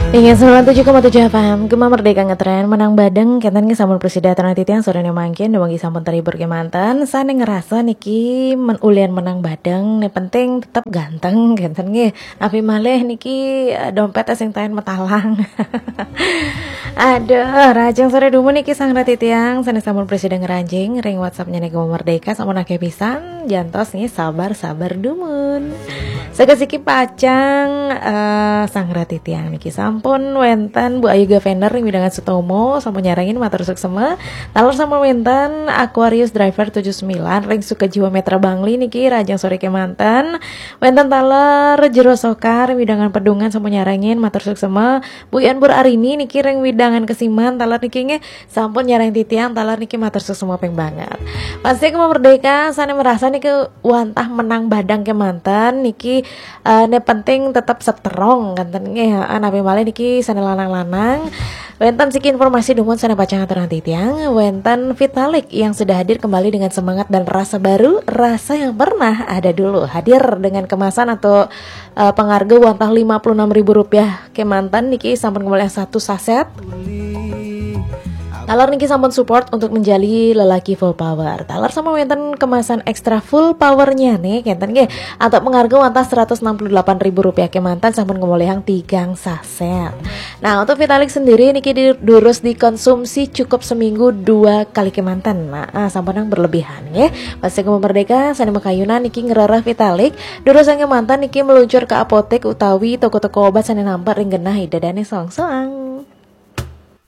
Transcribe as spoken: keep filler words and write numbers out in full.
Ingat sembilan tujuh koma tujuh F M, Gema Merdeka ngetren, menang badeng, kenten nggih sampun presida titiang sorene mangkin, dumogi sampun terhibur kemanten, sane ngerasa niki men-, ulian menang badeng, ne penting tetep ganteng, kenten nggih. Napi malih niki, eh, dompet sing taen metalang. Aduh, rahajeng sore dumun niki sang titiang, sane sampun presida ngranjing, ring WhatsApp-nya Gema Merdeka, sampun akeh pisan, jantos nggih sabar-sabar dumun. Sakasiki pacang, eh, sang titiang niki sampun wenten Bu Ayu Gavender ring wewidangan Sutomo, sampun nyarengin matur suksema. Taler sampun wenten Aquarius Driver tujuh sembilan ring Sukajiwa Metra Bangli niki rahajeng sore kemanten. Wenten taler Jero Soka ring wewidangan Pedungan sampun nyarengin matur suksema. Bu Ian Pur Arini niki ring wewidangan Kesiman taler niki nggih sampun nyareng titiang taler niki matur suksema ping banget. Pasti Gema Merdeka sane merasa niki wantah menang badeng kemanten niki, eh, ne penting tetep seterong kenten nggih, heeh, napi malih niki sane lanang-lanang. Wenten siki informasi dumun sane pacang aturang titiang, wenten Vitalik yang sudah hadir kembali dengan semangat dan rasa baru, rasa yang pernah ada dulu. Hadir dengan kemasan atau, eh, pengarga wantah lima puluh enam ribu rupiah kemanten niki sampun kembali satu saset. Taler niki sampun support untuk menjadi lelaki full power. Taler sampun wenten kemasan ekstra full powernya nih, kenten nggih. Atau pengarga wantah seratus enam puluh delapan ribu rupiah kemanten sampun ngolihang tigang saset. Nah, untuk Vitalik sendiri niki di-, durus dikonsumsi cukup seminggu dua kali kemanten. Nah, ah, sampun yang berlebihan nggih. Pasti Gema Merdeka sane makayunan niki ngrereh Vitalik, durus yang kemanten niki meluncur ke apotek utawi toko-toko obat sane nampak ring genah ida dane soang-soang.